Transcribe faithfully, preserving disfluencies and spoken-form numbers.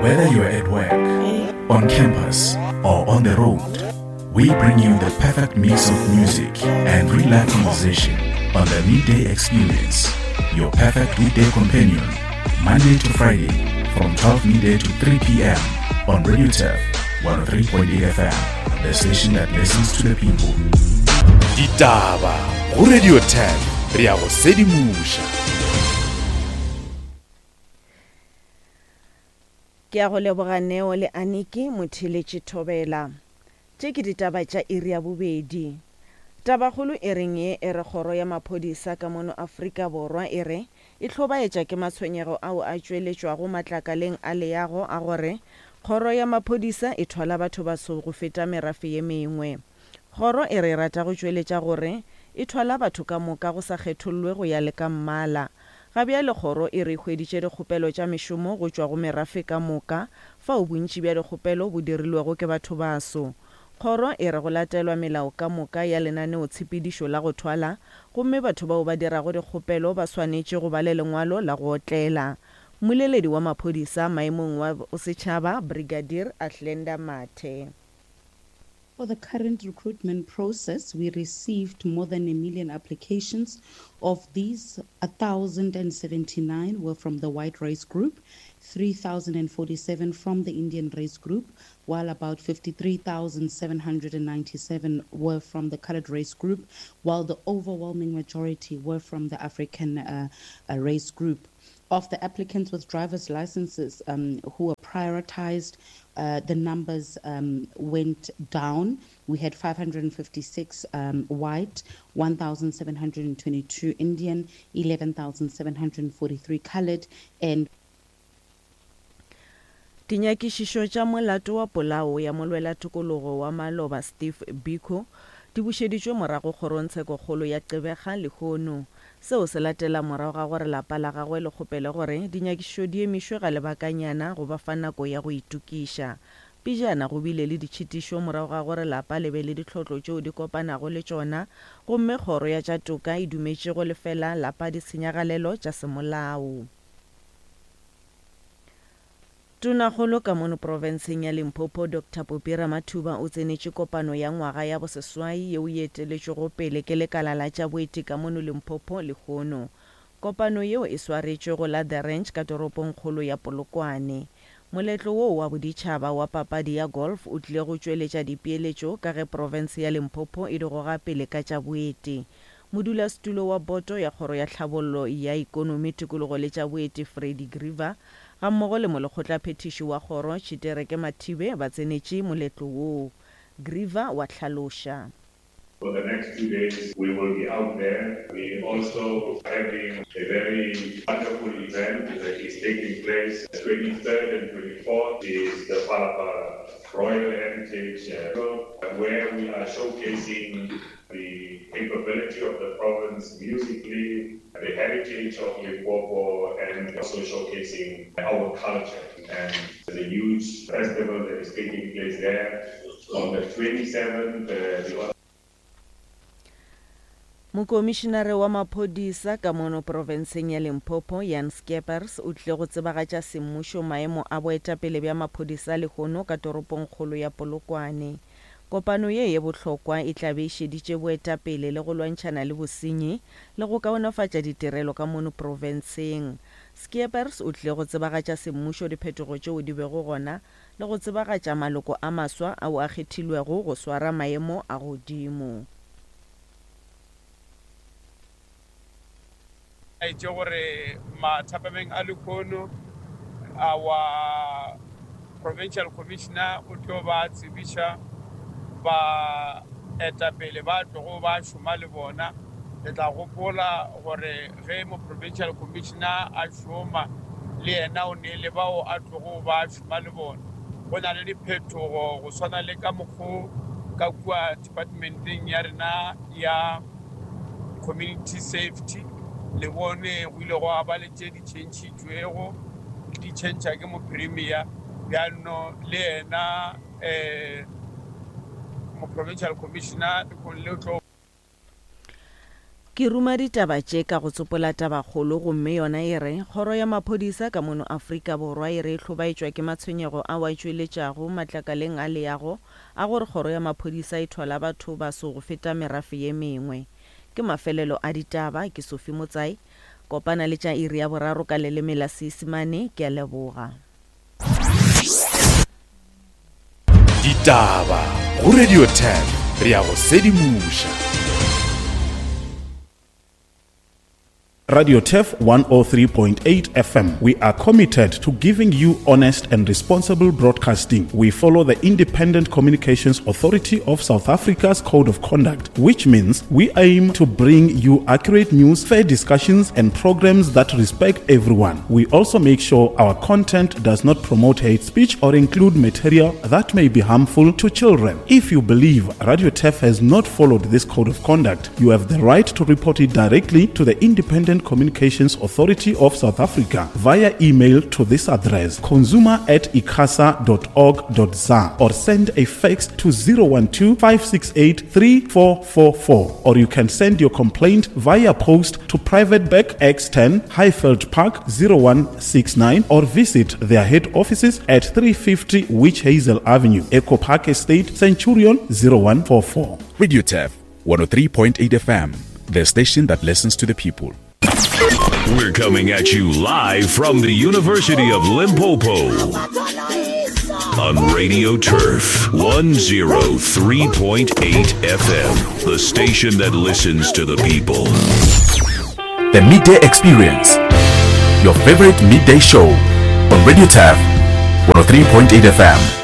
Whether you're at work, on campus, or on the road, we bring you the perfect mix of music and real life conversation on the Midday Experience, your perfect weekday companion, Monday to Friday from twelve midday to three p m on Radio Turf one oh three point eight F M, the station that listens to the people. Ditaba go Radio Turf, re ya go sedimoša. Ke a go leboga Neo le Aniki Motheletše Thobela. Tše ke ditaba tša iri ya bobedi. Tabakgolo e reng ye e re kgoro ya maphodisa ka mono Afrika Borwa e re e hlobaetša ke matshwenyego ao a tšweletšwago matlakaleng a leago a gore kgoro ya maphodisa e thwala batho baso go feta merafe ye mengwe. Kgoro e re e rata go tšweletša gore e thwala batho ka moka go sa kgethollwe go ya le ka mmala. Ga bjale kgoro e re e hweditše dikgopelo tša mešomo go tšwa go merafe ka moka, fao bontši bja dikgopelo bo dirilwego ke batho baso. Kgoro e re go latelwa melao ka moka ya lenaneotshepedišo la go thwala, gomme batho bao ba dirago dikgopelo ba swanetše go ba le lengwalo la go otlela. Mmoleledi wa maphodisa maemong wa bosetšhaba, Brigadier Athlenda Mathe. For the current recruitment process, we received more than a million applications. Of these, a thousand and seventy-nine were from the white race group, three thousand and forty-seven from the Indian race group, while about fifty-three thousand seven hundred and ninety-seven were from the colored race group, while the overwhelming majority were from the African, uh, uh, race group. Of the applicants with driver's licenses, um, who were prioritized, uh, the numbers, um, went down. We had five hundred and fifty-six, um, white, one thousand seven hundred and twenty-two Indian, eleven thousand seven hundred and forty-three colored, and Dinyakišišo tša molato wa polao ya molwela tokologo wa maloba Steve Biko di bušeditšwe morago kgorongtshekokgolo ya Gqeberha lehono. Seo se latela morago ga gore lapa la gagwe le kgopele gore dinyakišišo di emišwe ga lebakanyana go ba fa nako ya go itokiša. Pejana go bile le ditšhitišo morago ga gore lapa le be le ditlhotlo tšeo di kopanago le tšona, gomme kgoro ya tša toka e dumetše go lefela lapa ditshenyagalelo tša semolao. Tonakgolo ka mono profenseng ya Limpopo Doctor Phophi Ramathuba o tsenetše kopano ya ngwaga ya boseswai yeo e eteletšwego pele ke lekala la tša boeti ka mono Limpopo lehono. Kopano yeo e swaretšwe go la The Ranch ka toropongkgolo ya Polokwane. Moletlo wo wa boditšhaba wa papadi ya golf o tlile go tšweletša dipeeletšo ka ge profense ya Limpopo e di goga pele ka tša boeti. Modulasetulo wa boto ya kgoro ya tlhabollo ya ikonomi tikologo le tša boeti Freddie Greaver gammogo le molekgotlaphethiši wa kgoro Tshitereke Mathibe ba tsenetše moletlo woo. Greaver wa hlaloša. For the next two days, we will be out there. We also having a very wonderful event that is taking place. twenty-third and twenty-fourth is the Phalaphala Royal Heritage, uh, where we are showcasing the capability of the province musically, the heritage of Limpopo, and also showcasing our culture. And there's a huge festival that is taking place there on the twenty-seventh. Uh, the Mokomišinare wa maphodisa ka mono profenseng ya Limpopo Jan Skeepers o tlile go tsebagatša semmušo maemo a boetapele bja maphodisa lehono ka toropongkgolo ya Polokwane. Kopano ye ye bohlokwa e tla be e šeditše boetapele le go lwantšhana le bosenyi le go kaonafatša ditirelo ka mono profenseng. Skeepers o tlile go tsebagatša semmušo diphetogo tšeo di bego gona le go tsebagatša maloko a maswa ao a kgethilwego go swara maemo a godimo. Itše gore mathapameng a lehono our provincial commissioner o tlo ba tsebiša ba etapele ba tlogo ba šoma le bona. Le tla gopola gore ge mo provincial commissioner a šoma le yena o ne le bao a tlogo ba šoma le bona. Go na le diphetogo go swana le ka mokgo ka kua departmenteng ya rena ya community safety le bone go ile gwa ba le tše di tšhentšhitšwego di tšhentšha ke mopremier bjano le yena eh mo provincial commissioner le tlo Ke Ke ruma ditaba tše ka go tsopola tabakgolo gomme yona e re, Kgoro ya Maphodisa ka mono Afrika Borwa e re e hlobaetšwa ke matshwenyego ao a tšweletšago matlakaleng a leago a gore Kgoro ya Maphodisa e thwala batho baso go feta merafe ye mengwe. Ke mafelelo a ditaba, ke Sophie Motsai. Kopana le tša iri ya boraro ka leleme la Seisemane. Ke a leboga. Ditaba go Radio Turf, re a go sedimoša. Radio Turf one oh three point eight F M. We are committed to giving you honest and responsible broadcasting. We follow the Independent Communications Authority of South Africa's Code of Conduct, which means we aim to bring you accurate news, fair discussions, and programs that respect everyone. We also make sure our content does not promote hate speech or include material that may be harmful to children. If you believe Radio Turf has not followed this Code of Conduct, you have the right to report it directly to the Independent Communications Authority of South Africa via email to this address, consumer at icasa dot org dot za, or send a fax to zero one two, five six eight, three four four four, or you can send your complaint via post to Private Bag X ten, Highveld Park zero one six nine, or visit their head offices at three fifty Witch Hazel Avenue, Echo Park Estate, Centurion zero one four four. Radio Turf one oh three point eight F M, the station that listens to the people. We're coming at you live from the University of Limpopo on Radio Turf one oh three point eight F M, the station that listens to the people. The Midday Experience, your favorite midday show on Radio Turf one oh three point eight F M.